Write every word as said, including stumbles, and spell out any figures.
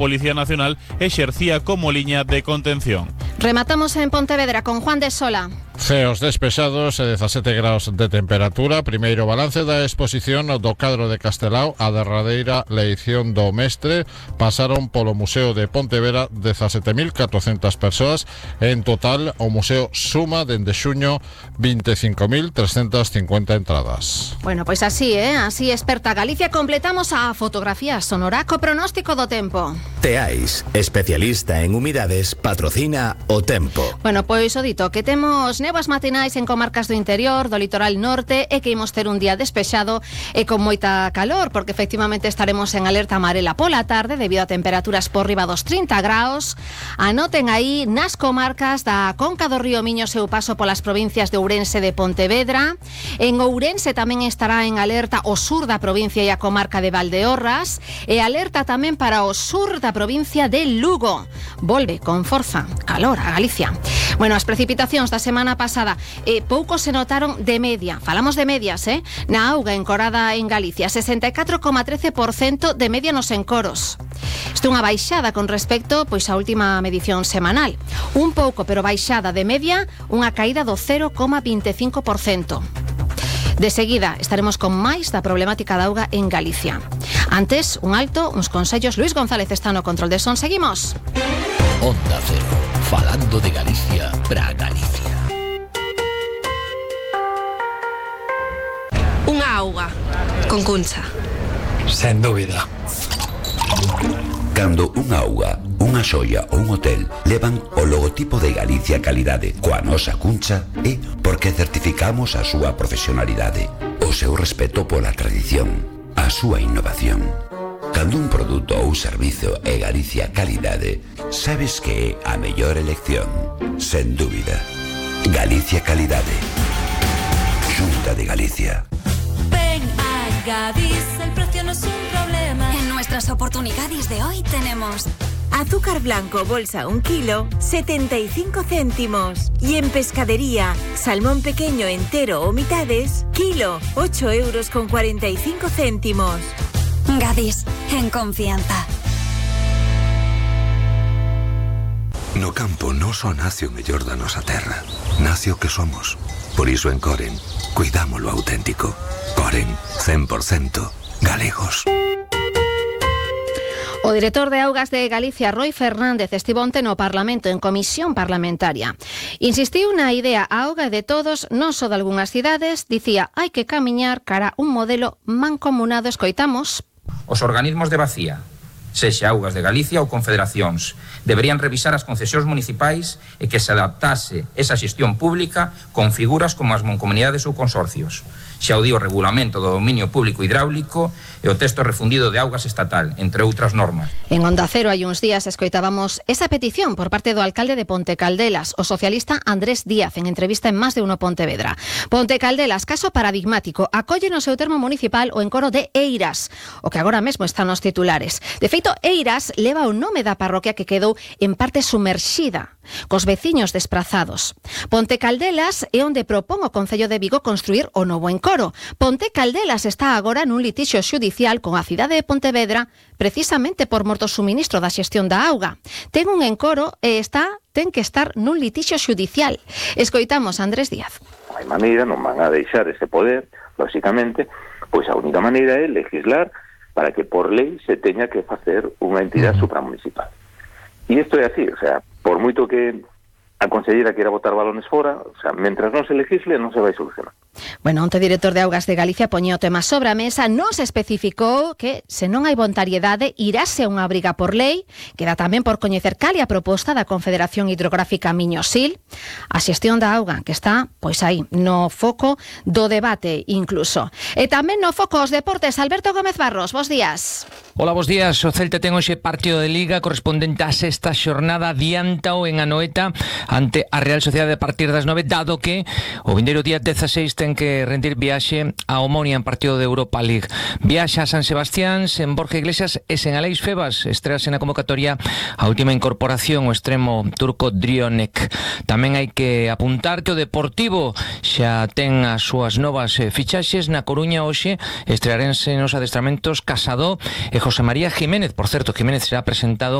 Policía Nacional exercía como liña de contención. Rematamos en Pontevedra con Juan de Sola. Ceos despesados e dezasete graus de temperatura. Primeiro balance da exposición do cadro de Castelao. A derradeira leición do mestre. Pasaron polo Museo de Pontevedra dezasete mil catrocentas persoas. En total, o museo suma dende xuño vinte e cinco mil trescentas cincuenta entradas. Bueno, pois así, eh? Así experta Galicia. Completamos a fotografía sonora co pronóstico do tempo. Teais, especialista en humidades, patrocina o tempo. Bueno, pois o dito, que temos néboas matinais en comarcas do interior, do litoral norte, e que imos ter un día despexado e con moita calor, porque efectivamente estaremos en alerta amarela pola tarde debido a temperaturas por riba dos trinta graus. Anoten aí nas comarcas da Conca do Río Miño seu paso polas provincias de Ourense e de Pontevedra. En Ourense tamén estará en alerta o sur da provincia e a comarca de Valdeorras, e alerta tamén para o sur da provincia de Lugo. Volve con forza calor a Galicia. Bueno, as precipitacións da semana pasada eh, pouco se notaron de media. Falamos de medias, eh? Na auga encorada en Galicia, sesenta e catro coma trece por cento de media nos encoros. Isto é unha baixada con respecto pois a última medición semanal. Un pouco, pero baixada de media, unha caída do cero coma vinte e cinco por cento. De seguida estaremos con máis da problemática da auga en Galicia. Antes, un alto, uns consellos. Luis González está no control de son. Seguimos. Onda Cero, falando de Galicia para Galicia. Unha auga con Cuncha. Sen dúbida. Cando unha auga, unha xoia ou un hotel levan o logotipo de Galicia Calidade coa nosa Cuncha, é porque certificamos a súa profesionalidade, o seu respeto pola tradición, a súa innovación. Cando un produto ou servizo é Galicia Calidade, sabes que é a mellor elección, sen dúbida. Galicia Calidade. Xunta de Galicia. Ven a Gadis, el precio no es un problema. En nuestras oportunidades de hoy tenemos azúcar blanco bolsa un kilo, setenta y cinco céntimos. Y en pescadería, salmón pequeño entero o mitades, kilo, ocho euros con cuarenta y cinco céntimos. Gadis, en confianza. No campo non só nace o mellor da nosa terra, nace o que somos. Por iso en Coren, cuidamos lo auténtico. Coren, cen por cento galegos. O director de Augas de Galicia, Roi Fernández, estivo onte no Parlamento, en comisión parlamentaria. Insistiu na idea a auga de todos, non só de algunhas cidades, dicía, hai que camiñar cara a un modelo mancomunado. Escoitamos. Os organismos de vacía, sexa Augas de Galicia ou confederacións, deberían revisar as concesións municipais e que se adaptase esa xestión pública con figuras como as mancomunidades ou consorcios. Xa o di o regulamento do dominio público hidráulico e o texto refundido de augas estatal, entre outras normas. En Onda Cero hai uns días escoitábamos esa petición por parte do alcalde de Ponte Caldelas, o socialista Andrés Díaz, en entrevista en Más de Uno Pontevedra. Ponte Caldelas, caso paradigmático, acolle no seu termo municipal o encoro de Eiras, o que agora mesmo está nos titulares. De feito, Eiras leva o nome da parroquia que quedou en parte sumerxida, cos veciños desprazados. Ponte Caldelas é onde propón o Concello de Vigo construir o novo encoro. Ponte Caldelas está agora nun litixio xudicial con a cidade de Pontevedra precisamente por morto suministro da xestión da auga. Ten un encoro e está ten que estar nun litixio xudicial. Escoitamos a Andrés Díaz. Non hai maneira, non van a deixar ese poder, lógicamente, pois a única maneira é legislar para que por lei se teña que facer unha entidade supramunicipal. E isto é así, o sea, por moito que a conselleira queira botar balones fora, o sea, mentras non se legisle non se vai solucionar. Bueno, onte director de Augas de Galicia poñía o tema sobre a mesa, non se especificou que se non hai voluntariedade irase a unha obriga por lei. Queda tamén por coñecer cal é a proposta da Confederación Hidrográfica Miño-Sil, a xestión da auga que está, pois aí, no foco do debate incluso. E tamén no foco os deportes. Alberto Gómez Barros, bos días. Hola, bos días. O Celta ten hoxe partido de Liga correspondente á sexta xornada, adiántao en Anoeta ante a Real Sociedade a partir das nove, dado que o vindeiro día dezaseis ten ten que rendir viaxe a Omonia en partido de Europa League. Viaxa a San Sebastián, sen Borja Iglesias e sen Aleix Febas. Estrease na convocatoria a última incorporación, o extremo turco Drionek. Tamén hai que apuntar que o Deportivo xa ten as súas novas fichaxes. Na Coruña hoxe estrearense nos adestramentos Casado e José María Jiménez. Por certo, Jiménez será presentado